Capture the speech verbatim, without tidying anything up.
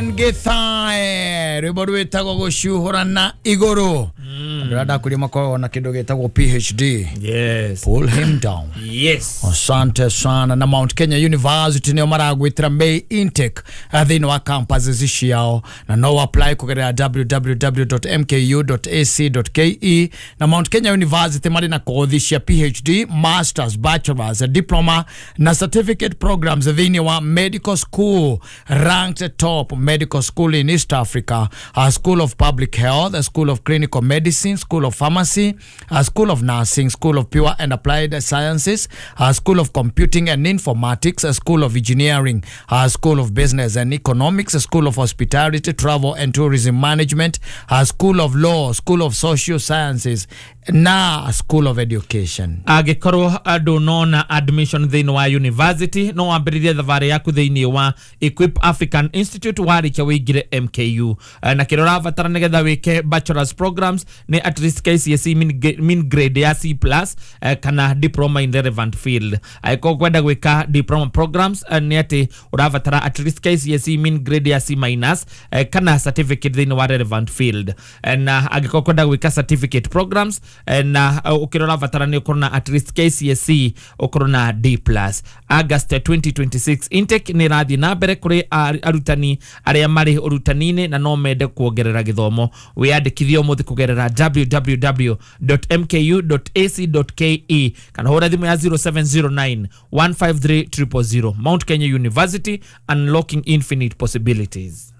Githae rwimbo rwitagwo gucuhurana iguru. Andå arĩa ndakuria makoragwo na kindu gitagwo P H D. Yes. Pull him down. Yes. Asante sana. Na Mount Kenya University nĩo maragwĩtĩra May intake uh, thĩinĩ wa campuses ciao, na no apply kũgerera w w w dot m k u dot a c dot k e. Na Mount Kenya University marĩ na kothi cia P H D, masters, bachelors, diploma na certificate programs thĩinĩ wa medical school, ranked top medical school in East Africa, a School of Public Health, a School of Clinical Medicine, School of Pharmacy, a School of Nursing, School of Pure and Applied Sciences, a School of Computing and Informatics, a School of Engineering, a School of Business and Economics, a School of Hospitality, Travel and Tourism Management, a School of Law, School of Social Sciences na School of Education. Angĩkorwo ndũnona admission thĩinĩ wa university, no wambĩrĩrie thabarĩ yaku thĩinĩ wa Equip African Institute warĩkia wĩingĩre M K U. Eh, na kĩrĩa ũrabatara nĩgetha wĩke bachelors programs nĩ at least K C S E mean, gra- mean grade ya C plus eh, kana diploma in relevant field. Angĩkorwo kwenda gwĩka diploma programs, eh, nĩ atĩ ũrabatara at least K C S E mean grade ya C minus eh, kana certificate thĩinĩ wa relevant field. Eh, na angĩkorwo kwenda gwĩka certificate programs, eh, na eh, ũkĩrĩa ũrabatara nĩ ũkorwo na at least K C S E ũkorwo na D plus. August twenty twenty-six intake nĩ ĩrathiĩ na mbere kũrĩ ar- arutani arĩa marĩ ũrutani-inĩ na no mende kuongerera gĩthomo. Wĩyandĩkithie ũmũthĩ kũgerera w w w dot m k u dot a c dot k e kana hũra thimũ ya zero seven zero nine one five three zero zero zero. Mount Kenya University, unlocking infinite possibilities.